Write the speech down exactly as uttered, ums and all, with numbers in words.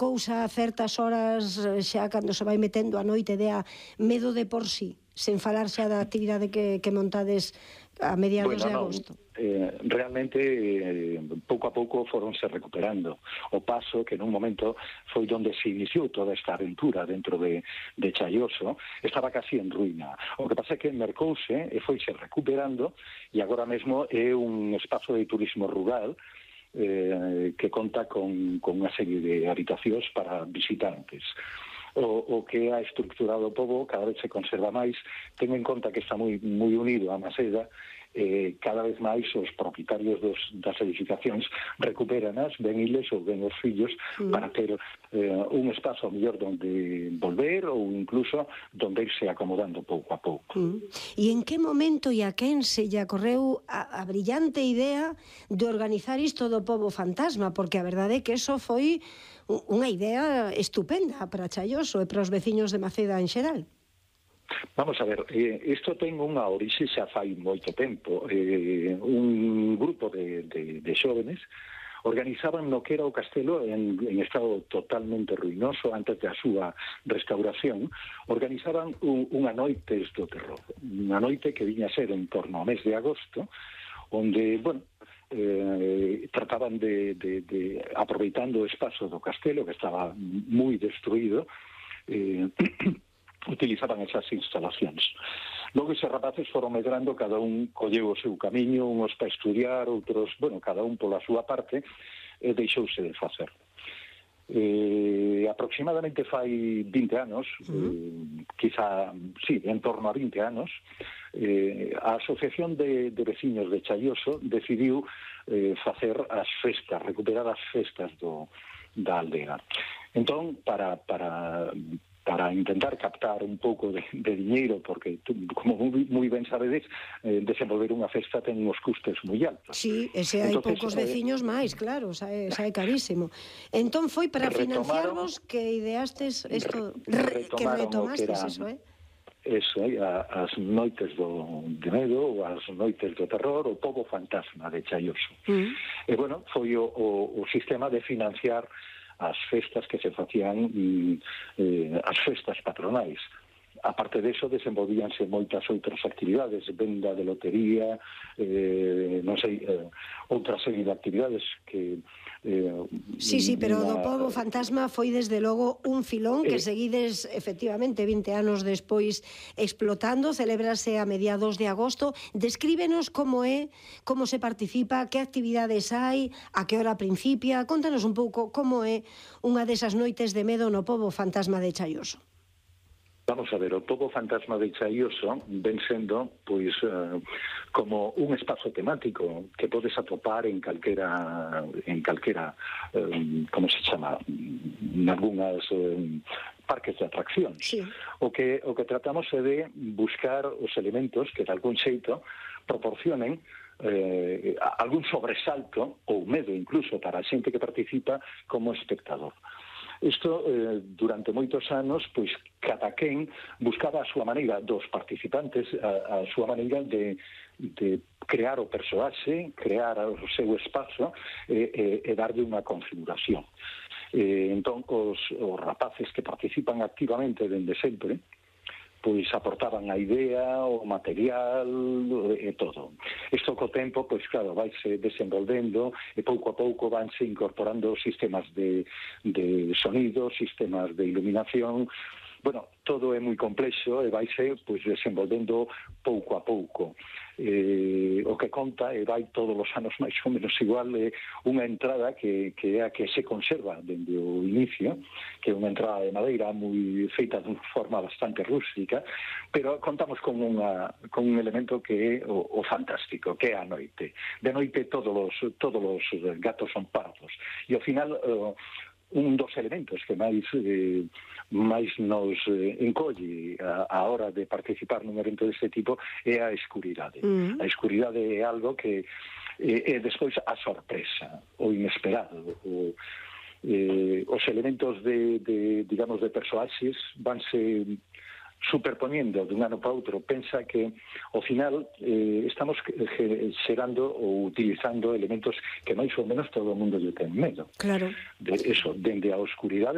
cousa a certas horas, xa cando se vai metendo a noite, dea medo de por sí, sen falar xa da actividade que, que montades a mediados bueno, de no, agosto? Eh, realmente, eh, pouco a pouco foronse recuperando. O paso que nun momento foi onde se iniciou toda esta aventura dentro de, de Chaioso, estaba casi en ruína. O que pasa é que mercouse e foise recuperando, e agora mesmo é un espazo de turismo rural eh, que conta con, con unha serie de habitacións para visitantes. O, o que ha estructurado o pobo cada vez se conserva máis, ten en conta que está moi, moi unido a Maseda, eh, cada vez máis os propietarios dos, das edificacións recuperanas, ben iles ou ben os fillos, mm. para ter eh, un espazo mellor donde volver ou incluso donde irse acomodando pouco a pouco. Mm. E en que momento e a quen se lle ocorreu a, a brillante idea de organizar isto do pobo fantasma? Porque a verdade é que eso foi unha idea estupenda para Chaioso e para os veciños de Maceda en xeral. Vamos a ver, eh, isto ten unha orixe xa fai moito tempo. Eh, un grupo de, de, de xóvenes organizaban no que era o castelo en, en estado totalmente ruinoso antes da súa restauración, organizaban un, unha noites do terror, unha noite que viña a ser en torno ao mes de agosto, onde, bueno, Eh, trataban de, de, de aproveitando o espazo do castelo que estaba moi destruído, eh, utilizaban esas instalacións. Logo eses rapaces foron medrando, cada un colleu o seu camiño, uns para estudiar, outros, bueno, cada un pola súa parte, e deixouse de facer. Eh, aproximadamente fai vinte anos, eh, quizá, sí, en torno a vinte anos, eh, a Asociación de, de Veciños de Chaioso decidiu eh, facer as festas, recuperar as festas do, da aldea. Entón, para, para, para intentar captar un pouco de, de diñeiro, porque, como moi ben sabedes, eh, desenvolver unha festa ten uns custes moi altos. Sí, e se hai Entonces, poucos veciños eh, máis, claro, xa é, xa é carísimo. Entón foi para financiarvos que ideastes isto, re, que retomastes que eso, eh? Eso, as noites do, de medo, ou as noites do terror, o pobo fantasma de Chaioso. Mm. E, bueno, foi o, o, o sistema de financiar as festas que se facían, eh, as festas patronais. Aparte de eso, desenvolvíanse moitas outras actividades, venda de lotería, eh, non sei, eh, outra serie de actividades que... Eh, sí, sí, pero do pobo fantasma foi desde logo un filón que eh, seguides efectivamente vinte anos despois explotando, celebrase a mediados de agosto. Descríbenos como é, como se participa, que actividades hai, a que hora principia, contanos un pouco como é unha desas noites de medo no pobo fantasma de Chaioso. Vamos a ver, o pobo fantasma de Chaioso ven sendo, pois, uh, como un espazo temático que podes atopar en calquera, en calquera, um, como se chama, en algunhas um, parques de atraccións. Sí. O que o que tratamos é de buscar os elementos que de algún xeito proporcionen eh, algún sobresalto ou medo incluso para a xente que participa como espectador. Isto, eh, durante moitos anos, pois, cada quen buscaba a súa maneira, dos participantes, a, a súa maneira de, de crear o persoaxe, crear o seu espazo e, e, e darlle unha configuración. Eh, entón, os, os rapaces que participan activamente dende sempre, pois aportaban a idea, o material e todo. Isto co tempo, pois claro, vaise desenvolvendo e pouco a pouco vanse incorporando sistemas de, de sonido, sistemas de iluminación. Bueno, todo é moi complexo e vaise pois desenvolvendo pouco a pouco. Eh, o que conta e vai todos os anos máis ou menos igual é unha entrada que, que é a que se conserva dende o inicio, que é unha entrada de madeira moi feita de forma bastante rústica, pero contamos con, unha, con un elemento que é o, o fantástico, que é a noite. De noite todos os, todos os gatos son pardos e ao final uh, un dos elementos que máis eh, máis nos eh, encolle a, a hora de participar nun evento deste tipo é a escuridade. Mm. A escuridade é algo que eh, é despois a sorpresa, o inesperado, o, eh, os elementos de, de digamos, de persoaxes vanse superponiendo dun ano para outro. Pensa que ao final eh, estamos xerando ou utilizando elementos que máis ou menos todo o mundo lle ten medo. Claro. De eso, dende a oscuridade